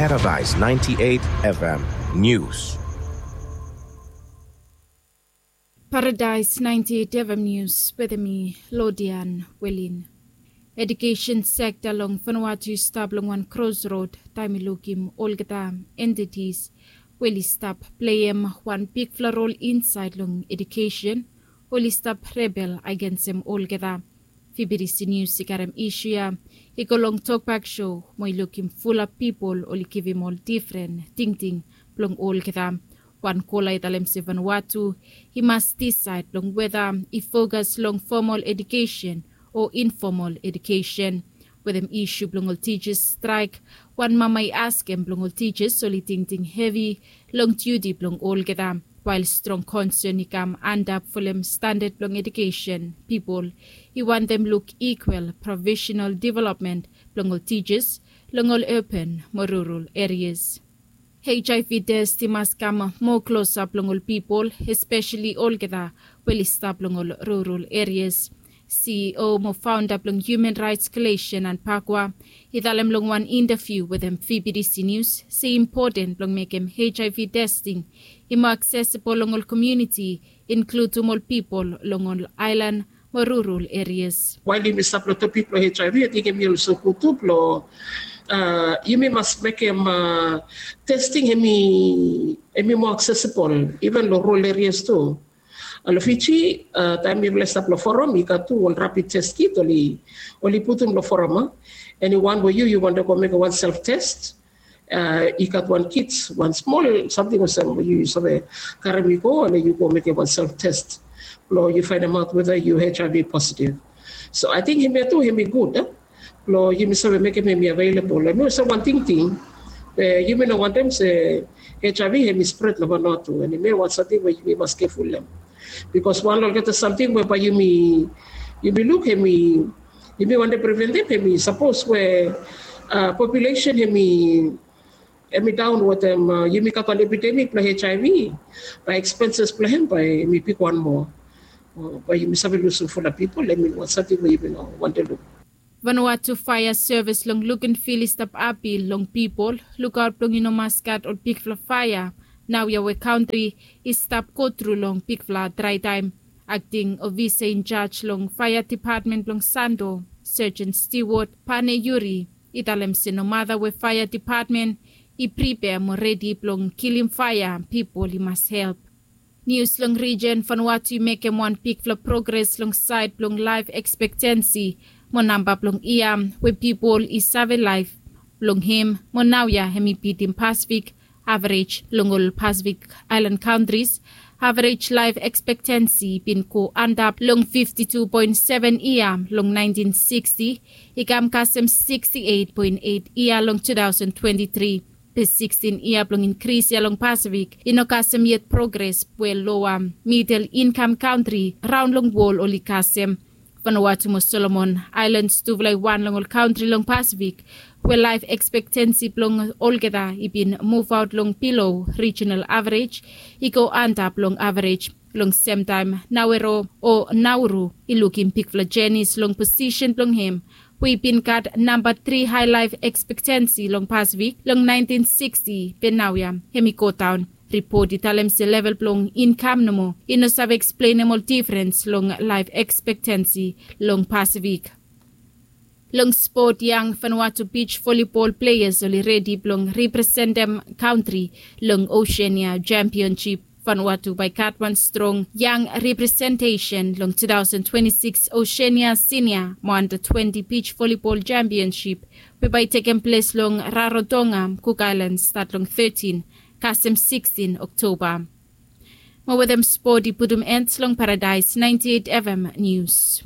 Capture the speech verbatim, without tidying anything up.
Paradise ninety-eight F M News. Paradise ninety-eight F M News wetem mi, Lodian Welin. Edukesen sekta long Vanuatu i stap long wan krosrod taem i lukim olgeta entities we oli stap pleim wan bigfala rol insaed long edukesen, oli stap rebel agensem olgeta. Fibidisi Nius i karem isu ya i go long tokbak sho mo i lukim fulap pipol oli givim ol difren tingting blong olgeta. Wan kola i talem se Vanuatu i mas disaed long weta i fokas long fomol edukesen o infomol edukesen. Wetem isu blong ol tijas straek, wan mama i askem blong ol tijas oli tingting hevi long diuti blong olgeta. Wael strong konsen i kam antap folem standad blong edukesen, pipol i wantem luk ikwal profesenal developmen blong ol tijas long ol urban mo rural erias. Hiv test i mas kam moa klosap long ol pipol, espeseli olgeta we oli stap long ol rural erias. C E O mo faonda blong Human Rights Coalition, Anne Pakwa, i talem long wan intaviu wetem Fibidisi Nius se i impoten blong mekem Hiv testing i moa aksesibol long ol komuniti, inkludum ol pipol long ol aelan mo rural erias. Wael yumi stap long topik blong Hiv, ating hemi olsem gud tu blong, a, yumi mas mekem, a, testing hemi, hemi moa aksesibol iven long rural erias tu. A, long Fiji, a, taem mifala i stap long foram, i gat tu ol rapid test kit oli, oli putum long foram, a. Eniwan we yu, yu wantem go mekem wan self test, a, i gat wan kit, wan smol samting olsem we yu, yu save karem i go, and yu go mekem wan self test blong yu faenemaot weta yu Hiv positive. So ating hemia tu hemi gud, a, blong yumi save mekem hemi available. Hemi olsem wan tingting we yumi no wantem se Hiv hemi spred long Vanuatu, and hemia wan samting we yumi mas keful long hem. Bikos wan long olgeta samting we bae yumi, yumi luk hemi, yumi wantem preventem, hemi sapos we, a, populesen hemi, hemi daon wetem, a, yumi gat wan epidemik blong Hiv, bae expenses blong hem bae hemi bigwan moa. O, bae yumi save lusum fulap pipol, hemi wan samting we yumi no wantem luk. Vanuatu Faea Sevis long Luganville i stap apil long pipol lukaot blong i no mas gat ol bigfala faea naoia we kantri i stap gotru long bigfala draetaem. Akting ofisa injaj long faea depatmen blong Santo, Sergeant Stewart Pane Yuri, i talem se nomata we faea depatmen i pripea mo redi blong kilim faea, pipol i mas help. Nius long rijen, Vanuatu i mekem wan bigfala progres long saed blong laef ekspektensi mo namba blong yia we pipol i save laef long hem, mo naoia hemi bitim Pasifik averej. Long ol Pasifik aelan kantris, averej laef ekspektensi i bin go antap long fifti tu poen seven yia long naentin siksti, i kam kasem siksti eit poen eit yia long tu taosen twenti tri. Be sikstin yia blong inkris ya long Pasifik i no kasem yet progres we loa midel inkam kantri raon long wol oli kasem. Vanuatu mo Solomon Aelans tufala i wan long ol kantri long Pasifik we laef ekspektensi blong olgeta i bin muvaot long bilo rijinal averej i go antap long averej. Long semtaem Nauru o Nauru i lukim bigfala jenis long posisen blong hem we i bin gat namba tri hae laef ekspektensi long Pasifik long naentin siksti, be naoia hemi godaon. Ripot i talem se level blong inkam nomo i no save eksplenem ol difrens long laef ekspektensi long Pasifik. Long spot, yang Vanuatu beach volleyball pleas oli redi blong representem kantri long Oseania Jempionjip. Vanuatu bae i gat wan strong yang representesen long tu taosen twenti sikis Oseania Sinia mo anda twenti beach volleyball jempionjip we bae i tekem ples long Rarotonga, Cook Islands, stat long tetin kasem sikstin Oktoba. Mo wetem spot i putum en long Paradise naenti eit F M Nius.